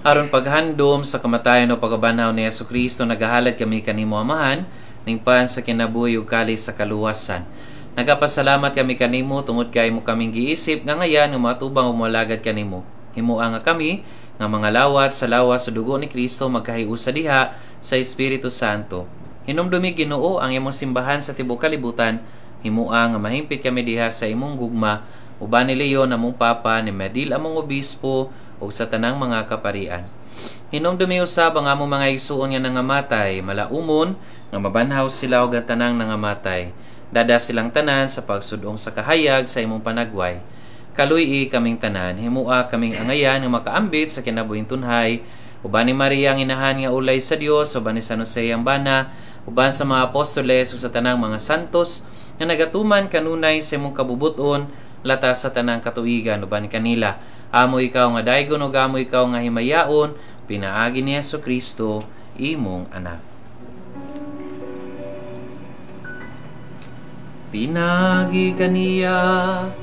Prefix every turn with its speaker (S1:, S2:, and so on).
S1: Aron paghandom sa kamatayon o pagkabanhaw ni Hesus Kristo, nagahalad kami kanimo, Amahan, ning pan sa kinabuhi ug kalis sa kaluwasan. Nagapasalamat kami kanimo tungod kay imo kaming giisip nga ngayan nga matubang ug moalagad kanimo. Himoa nga kami nga mga lawat sa lawas ug dugo ni Kristo magkahiusa diha sa Espiritu Santo. Hinumdumi, Ginoo, ang imong simbahan sa tibuok kalibutan. Himoa nga mahimpit kami diha sa imong gugma uban ni Leon among Papa, ni Medil among obispo ug sa tanang mga kaparian. Hinumdumi usab ang among mga igsuon nga nangamatay, malaumon nga mabanhaw sila ug ang tanang nangamatay. Dada silang tanan sa pagsudong sa kahayag sa imong panagway. Kaluy-i kaming tanan, himua kaming angayan nga makaambit sa kinabuhing tunhay uban ni Maria ang inahan nga ulay sa Dios, uban ni San Jose ang bana, uban sa mga apostoles ug sa tanang mga santos nga nagatuman kanunay sa imong kabubut-on latas sa tanang katuigan, uban kanila. Amo ikaw nga daygon ug amo ikaw nga himayaon pinaagi ni Hesus Kristo imong anak. Pinaagi kaniya.